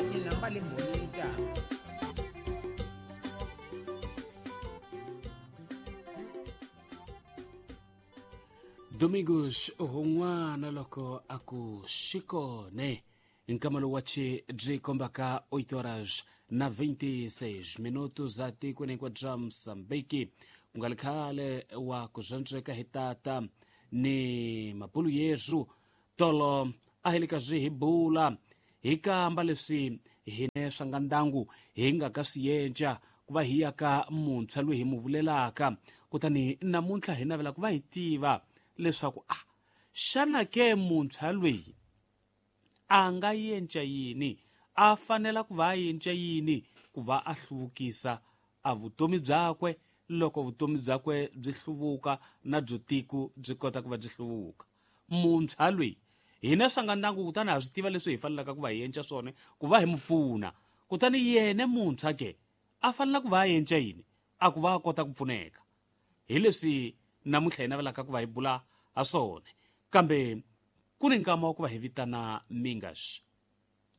Joaquín Lambale Bonita. Domingos hun'wana loko a ku xikone nkama lowu wa chi byi kombaka 8 horas na 26 minutos za tikweni hinkwabyo bya Mozambique, ku nga ri khale wa ku zwandzeka hi tata ni mabulu yesu tolo a hi le ka swi hi bula hi kamba leswi hine swa nga ndangu hi nga ka swi yenca ku va hi ya ka muntshwa loyi hi mu vulelaka. Kutani namuntlha hi navela ku va hi tiva leswaku a xana ke muntshwa loyi a nga yenca yini, a fanela ku va a yenca yini ku va a hluvukisa a vutomi byakwe, loko vutomi byakwe byi hluvuka na byo tiko byi kota ku va byi hluvuka. Muntshwa loyi hina swa nga ndangu, kutani ha swi tiva leswi hi fanelaka ku va hi yenca swona ku va hi mu pfuna. Kutani yena muntshwa ke a fanela ku va a yenca yini a ku va a kota ku pfuneka, hi leswi namuntlha hi navelaka ku va hi bula ha swona. Kambe ku ni nkama wa ku va hi vitana Mingas